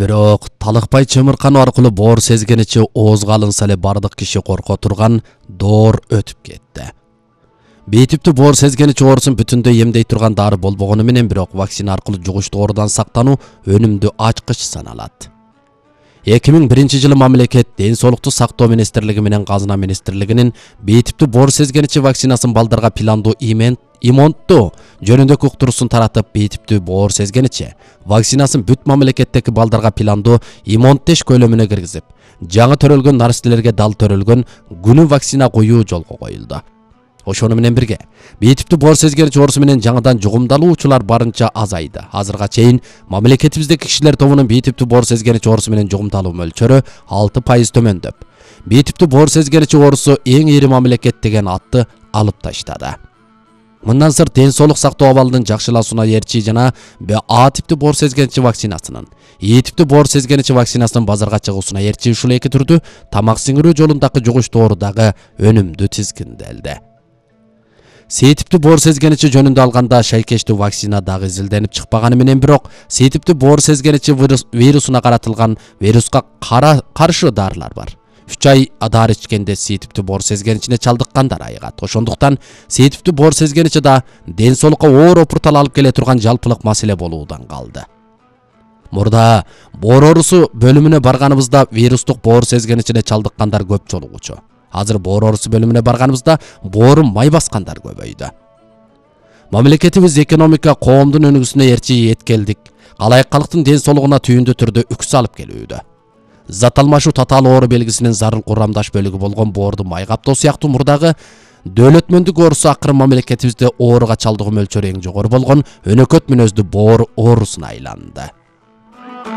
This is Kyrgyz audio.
Бирок талыкпай чымыркануу аркылуу боор сезгеничи оозго алынса эле бардык киши корко турган доор өтүп кетти. Бейтиптүү боор сезгеничи оорусун бүтүндөй эмдей турган дары болбогону менен бирок вакцина аркылуу жугуштуу оорудан сактануу өнүмдүү ачкыч саналат. 2001-жылы мамлекет Ден соолукту сактоо министрлиги менен Казына министрлигинин бейтиптүү боор сезгеничи вакцинасын балдарга пландуу иммунттуу жөнүндөгү уктуруусун таратып, бейтиптүү боор сезгеничи вакцинасын бүт мамлекеттеги балдарга пландуу иммунттеш көлөмүнө киргизип, жаңы төрөлгөн наристелерге дал төрөлгөн күнү вакцина коюу жолго коюлду. Ошону менен бирге бейтиптүү боор сезгеничи оорусу менен жаңыдан жугумдалуучулар барынча азайды. Азырга чейин мамлекетибиздеги кишилер тобунун бейтиптүү боор сезгеничи оорусу менен жугумдалуу мөлчөрү 6% төмөндөп, бейтиптүү боор сезгеничи оорусу эң ири мамлекет деген атты алып таштады. Мындан сырт ден соолук сактоо абалынын жакшылашууна ээрчи жана А типтүү боор сезгеничи вакцинасынын, Е типтүү боор сезгеничи вакцинасынын базарга чыгуусуна ээрчи ушул эки түрдүү тамак сиңирүү жолундагы жугуштуу оорудагы өнүмдүү тизгинделди. С типтүү боор сезгеничи жөнүндө алганда шайкештүү вакцина дагы изилденип чыкпаганы менен бирок С типтүү боор сезгеничи вирусуна каратылган вируска каршы дарылар бар. 3 ай дары ичкенде С типтүү боор сезгеничине чалдыккандар айыгат. Ошондуктан С типтүү боор сезгеничи да ден соолукка оор опуртал алып келе турган жалпылык маселе болуудан калды. Мурда боор оорусу бөлүмүнө барганыбызда вирустук боор сезгеничине чалдыккандар көп жолугучу. Азыр боор оорусу бөлүмүнө барганыбызда боорун май баскандар көбөйдү. Мамлекетибиз экономика коомдун өнүгүүсүнө ээрчи эткелдик, калайык калктын ден соолугуна түйүндүү түрдө үкс алып келүүдө. Зат алмашуу татаал оору белгисинин зарыл курамдаш бөлүгү болгон боорду май каптоо сыяктуу мурдагы дөөлөтмөндүк оорусу акыры мамлекетибизде ооруга чалдыгуу мөлчөрү эң жогору болгон өнөкөт мүнөздүү боор оорусуна айланды.